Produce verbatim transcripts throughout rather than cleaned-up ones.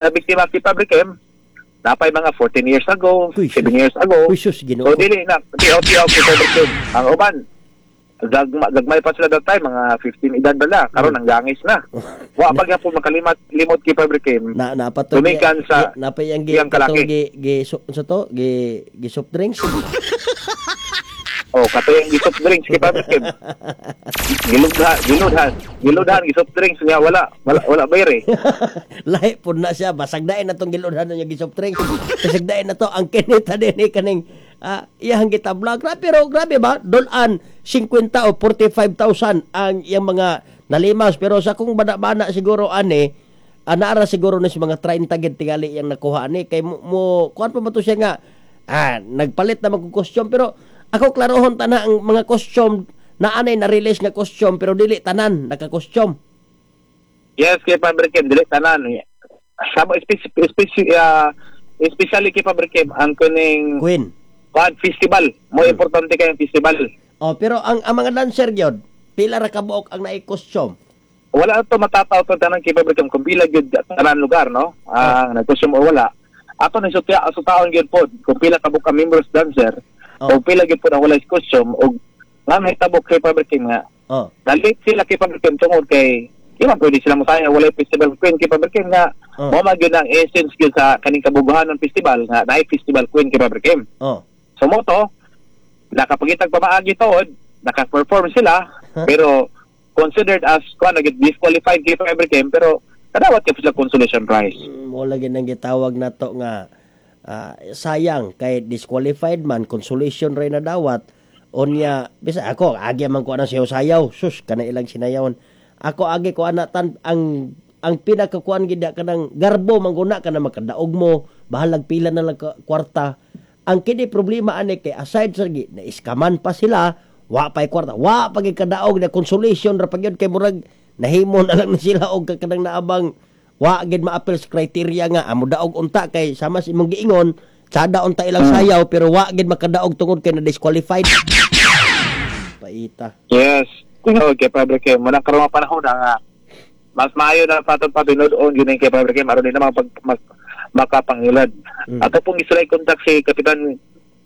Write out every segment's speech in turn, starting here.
Biktima kay Pabrikem, napay mga fourteen years ago, Uy, seven years ago. Uy, sus, Ginoo. So dili na tiyaw-tiyaw kay Pabrikem. Ang uban gagma, gagmay pa sila that time, mga fifteen edad bala, karon ang gangis na. Wa pa gyapon makalimat limot kay Pabrikem. Na napato Gumikan sa napay ang gi iyang kalaki. Katong gi, gi so, sa to gi gi soft drinks. Oh, kato yung gi-soft drinks kay Pabrikem. Giludhan, giludhan, giludhan gi-soft drinks niya, wala, wala wala bayre. Lahi pud na siya, basag dain na tong giludhan niya gi soft drinks. Basag dain na to ang kinita din ni kaning ah, iyang gitabla. Grabe, pero grabe ba? Dolan singkwenta o forty-five thousand ang iyang mga nalimas, pero sa kung bana-bana siguro ani, ah, naara siguro ni sa mga thirty gid tingali iyang nakuha ani, kay mo, mo kuan pa ba to siya nga ah, nagpalit na mag costume. Pero ako, klarohon ta na ang mga costume na anay na release nga costume, pero dili tanan naka-costume. Yes, kay Pabrikem, dili tanan. Sama speci speci uh, especially kay Pabrikem ang kuning Queen. Kuan festival. Mo Hmm. importante kay ang festival. Oh, pero ang ang mga dancer gyud, pila ra kabuok ang naay costume? Wala to matataw to tanan kay Pabrikem kung pila gyud tanan lugar, no? Ang nag-costume o wala. Ato ni sutya sutaon gyud pod kung pila kabuk ka members dancer Oh. o pila gyud pod ang walay costume, og nga nahitabo kay Pabrikem nga Oh. dalit sila kay Pabrikem tungod kay di man pwede sila mosaya walay festival queen kay Pabrikem nga Oh. mo man gyud ang essence gyud sa kaning kabuguhan ng festival nga naay festival queen kay Pabrikem. Oh. So mo to, nakapagitag pamaagi tuod, naka-perform sila, Huh? pero considered as kuan nag disqualified kay Pabrikem, pero kadawat kay sila consolation prize. Mm, mo lagi nang gitawag nato nga ah, sayang kay disqualified man, consolation ray na dawat. Unya bisa ako agi man ko anang sayaw sayaw, sus, kana ilang sinayawan. Ako agi ko ana tan ang ang pinakakuan gid kanang garbo mangguna kana makadaog mo, bahalag pila na lang ka- kwarta. Ang kini problema ani kay aside sa gi na iskaman pa sila, wa pay kwarta, wa pa gid kadaog na consolation ra pa gyud, kay murag nahimo na lang ni sila og kanang naabang wa gid maapil sa criteria nga amo daog unta, kay sama sa imong giingon, tsada unta ilang sayaw, pero wa gid makadaog tungod kay na disqualified. Paita. Yes. Tinuod kay Pabrikem. Muna karon nga panahon na nga mas maayo na patod pa tinud-on yun kay Pabrikem aron din naman pag mas makapangilad. Mm. Ato pong gisulay contact si Kapitan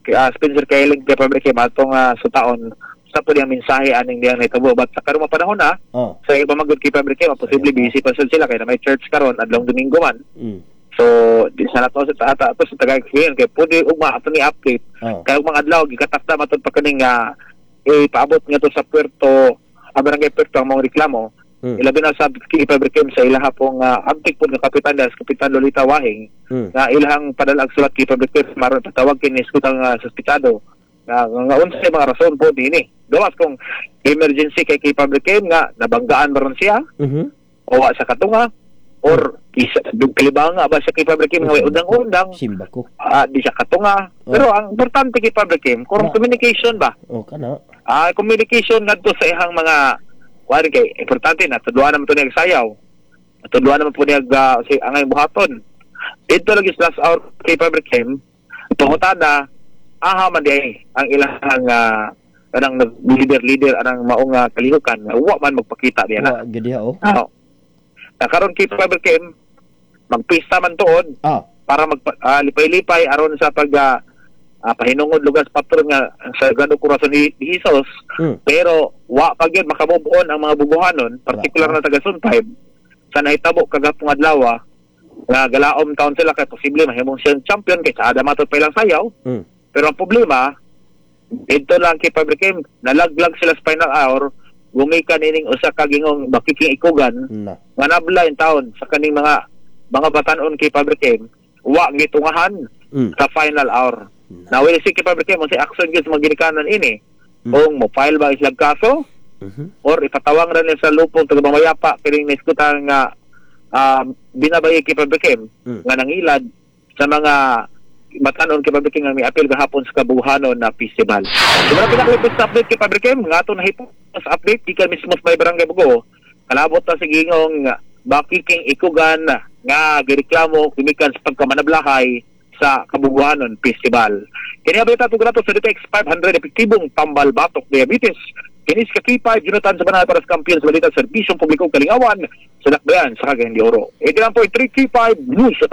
uh, Spencer Kailing kay Pabrikem atong uh, sutaon sa po niyang mensahe aning diyang nahitabo. But sa karong panahon na oh sa iba magud kay Pabrikem, posible busy pa sad sila kay na may church karon, adlong Domingo man. mm. So di sa nato sa ata ato sa tagay kay pwede ugma ato ni update oh kay ug mga adlaw gikatakda matud pa kaning nga ipaabot nga to sa puerto, ang barangay Puerto, ang mga reklamo, mm. ilabi na sa kay Pabrikem sa ilaha pong uh, abtik po nga kapitan das Kapitan Lolita Wahing Mm. nga ilahang padala ang sulat kay Pabrikem maron patawag kini ang uh, suspitsado nga nga unsay mga rason po dinhi gawas kung emergency kay kay Pabrikem nga nabanggaan baron siya Mhm. o wa sa katunga or isa kalibanga ba siya kay Pabrikem nga way undang-undang, Simba ko. ah, di siya katunga. Pero ang importante kay Pabrikem kung Ah. communication ba, Oh, kana. ah communication ngadto sa ihang mga kuan, kay importante na tudluan naman to niya sayaw, tudluan naman po niya uh, si angay buhaton dito lagi sa last hour kay Pabrikem. Pangutana, aha man di ang ilang uh, anang leader leader anang maong uh, kalihukan nga wa man magpakita diya na. Wa gid diha oh. Oh. Na karon kay Pabrikem magpista man tuod Ah. para mag ah, lipay-lipay aron sa pag ah, ah, pahinungod lugar sa patron nga sa Sagrado Corazon ni, ni Jesus, Mm. pero wa pa gyud makamove on ang mga buguhanon, particular na taga Zone five, sa nahitabo kagapong adlaw nga galaom taon sila kay posible mahimong siyang champion kay sa matud pa ilang sayaw. Mm. Pero ang problema dito lang kay Pabrikem, nalaglag sila sa final hour gumikan ining usa ka gingong bakiking ikugan Na. nga nabla yung taon sa kaning mga mga batanon kay Pabrikem, wa gitungahan Mm. sa final hour. Na. Na will see kay Pabrikem unsay action gyud sa mga ginikanan ini. Mm. Kung mo file ba islang kaso Mhm. or ipatawang ra nila sa lupong taga Mamayapa kining naiskutan nga um, binabayi kay Pabrikem Mm. nga nangilad sa mga batanon kay Pabrikem nga miapil gahapon sa kabuhanon na festival. So wala pinaka update kay Pabrikem nga ato nahipos update gikan mismo sa may barangay Bugo. Kalabot na sa gingong bakiking ikugan nga gireklamo gumikan sa pagkamanablahay sa Kabuguhanon Festival. Kini balita tug sa D T X five hundred, epektibong tambal batok diabetes. Kini si K five Jonathan sa banal para sa kampiyon sa balita, serbisyong publiko, kalingawan sa Dakbayan sa Cagayan de Oro. eighty-nine point three K five News.